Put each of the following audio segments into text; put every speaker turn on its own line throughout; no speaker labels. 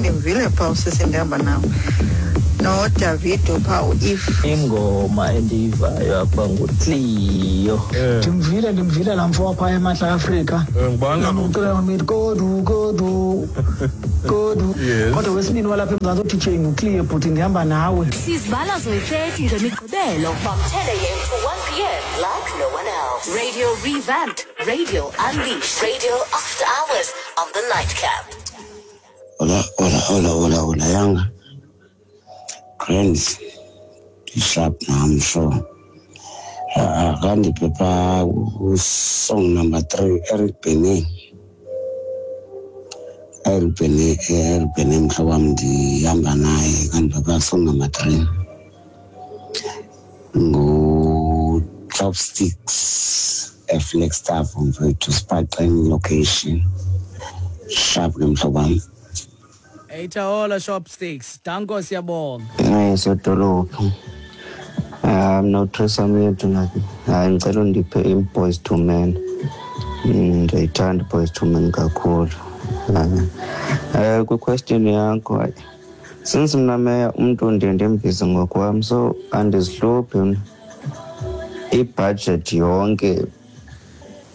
Ndimvile phaa usisi ndihamba nawo noDavido phaa u-If.
Ingoma endiyivayo apha nguCleo.
Ndimvile, ndimvile laa mfo waphaa eMantla Afrika.
Ngubani kaloku?
Ucula ngomit kodu kodu kodu. Kodwa wesibini walapha eMzantsi uDJ nguCleo, bhuti, ndihamba nawe.
Sizibala zoyi-30 ngeMigqibelo from 10 a.m. to 1 p.m. like no one else. Radio revamped, radio unleashed, radio after hours on the Nightcap.
Hola, hola, hola, hola, hola, yanga. Friends, sharp nam sure. Akandiphe phaa song number 3, Eric Benet. Eric Benet, Eric Benet mhlobo wam, ndihamba naye. Kandiphe phaa song number 3. Ngu-Chopsticks, eFlagstaff mfethu, Spartan location. Sharp ke mhlobo wam.
Eyithahola Chopsticks. Danko, siyabonga.
Hayi, sodolophu. Mna uThrisam yethu nathi. Hayi, ngicela undiphe i-Boyz II Men. Ndiyayithanda i-Boyz II Men kakhulu. Kwi-question yakho, hayi, since mna meya umntu ndiye ndimbize ngokwam, so andizihluphi mna. I-budget yonke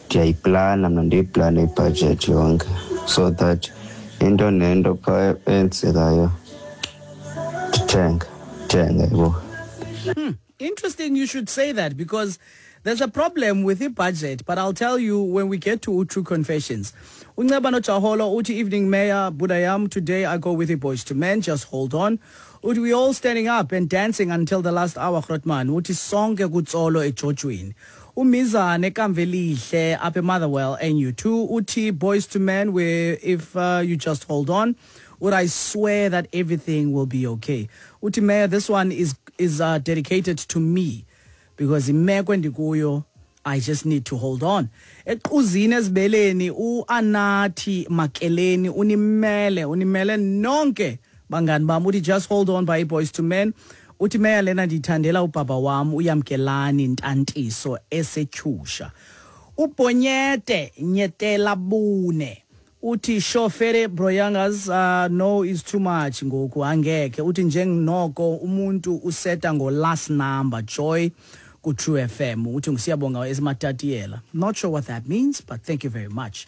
ndiyayiplana mna, ndiyiplane i-budget yonke so that into nento phaa eyenzekayo ndithenge, ndithenge, yabo.
Interesting you should say that, because there's a problem with the budget, but I'll tell you when we get to True Confessions. Unceba noJaholo uthi, evening Mayor Budayam, today I go with the Boyz II Men, just hold on. Uthi we all standing up and dancing until the last hour, Grootman. Uthi sonke kutsolo ejojweni. Umizane Kamvelihle up in Motherwell NU2. Uthi Boyz II Men, where if you just hold on, would I swear that everything will be okay. Uthi Mayor, this one is dedicated to me, because imeko endikuyo, I just need to hold on. Equzini ezibeleni uAnathi Makeleni unimele, unimele nonke bangani bam. Uthi just hold on by Boyz II Men. Uthi Mayor, lena ndithandela ubaba wam uYamkelani Ntantiso esetyhusha. Ubhonyete Nyetela Bune uthi shofere broyangas, no is too much ngoku, angekhe. Uthi njengnoko umuntu useta ngo last number joy ku True FM. Uthi ngusiyabonga esimatatiyela. Not sure what that means, but thank you very much.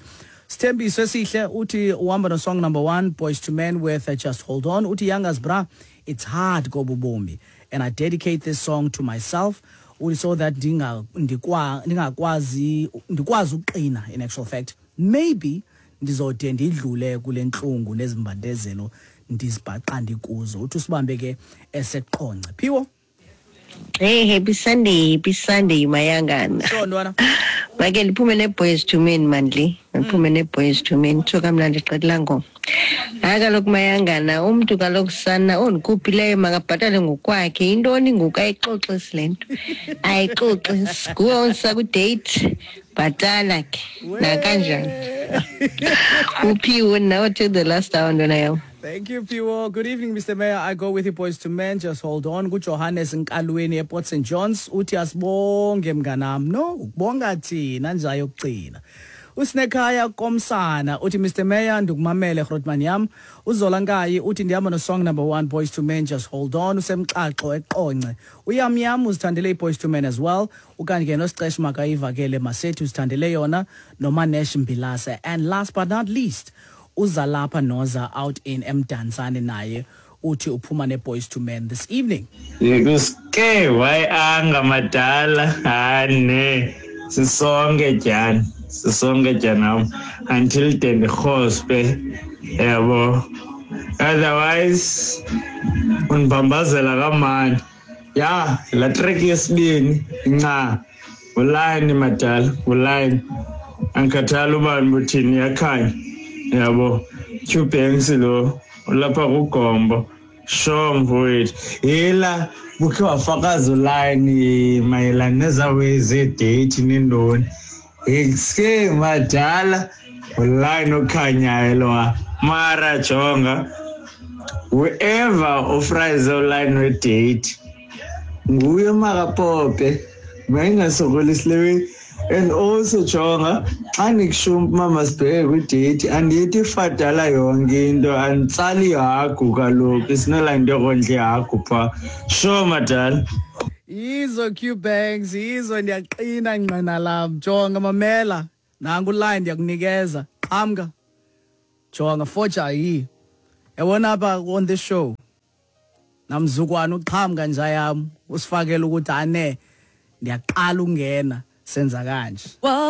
Sithembiso esihle uthi uhamba no song number 1 Boyz II Men with Just Hold On. Uthi yangas bra, it's hard kobubomi, and I dedicate this song to myself. Uthi so that ndingakwazi, ndikwazi uqina. In actual fact, maybe ndizode ndidlule kule ntlungu nezimbandezelo ndizibhaqa ndikuzo. Uthi usibambe ke eseqonce. Phiwo.
Hey, happy Sunday, happy Sunday mayangana.
Sure, ntwana.
Make ndiphume ne-Boyz II Men mandli. Ndiphume ne-Boyz II Men. Tsho kamnandi qedela ngoma. Hayi kaloku mayangana, umntu kaloku sana ondikhuphileyo makabhatale ngokwakhe. Intoni ngoku ayixoxisi le nto? Ayixoxisi. Nguwe ondisa kwi-date, bhatala ke. Nakanjani? Uphiwe nawe till the last hour ntwana yam.
Thank you, Phiwo. Good evening, Mr. Mayor. I go with you, Boyz II Men. Just hold on. Good Johannes Nkalweni ePort St. John's. Uthi asibonge mnganam. No, ukubonga thina nja yokugcina. Usinekhaya komsana uthi Mr. Mayor ndikumamele Grootman yam. Uzola Nkayi uthi ndihamba no song number 1 Boyz II Men Just Hold On. Usemxaxo eqonce. Uyam yam uzithandele iBoyz II Men as well. Ukanti ke noSicesh makayivakele Masethi uzithandele yona noManesh Mbilase. And last but not least, uzalapha Noza out in Mdantsane naye uthi uphuma neBoyz II Men this evening.
Kuske why anga madala ane sisonke tyani, sisonke tyani until then the hospe yabo, otherwise unibambazela kamani ya la track yesibini nca uline madala uline angikhathali ubani buthini yakhanya yabo. Q Banks lo ulapha kuGombo sure mfowethu yela bukhe wafakaza uline mayelana nezawe zedate nendoni eske madala uline okhanyayo lo mara jonga whoever ofraze uline wedate nguye makapope mayingasokolisi lewe. And also jonga Xa ndikushumpa mama sibheke kwidate, andithi fadala yonke into, anditsali ihagu kaloku. It's not like ndiyokondla ihagu phaa. Sure madala.
Yizo Q-Banks, yizo, ndiyaqina ngqina lam. Jonga, mamela, nangu line ndiyakunikeza. Qhamka. Jonga, foja yi. Yabona apha on this show, namzukwana uqhamka nja yam, usifakele ukuthi ane ndiyaqala ungena senza kanje.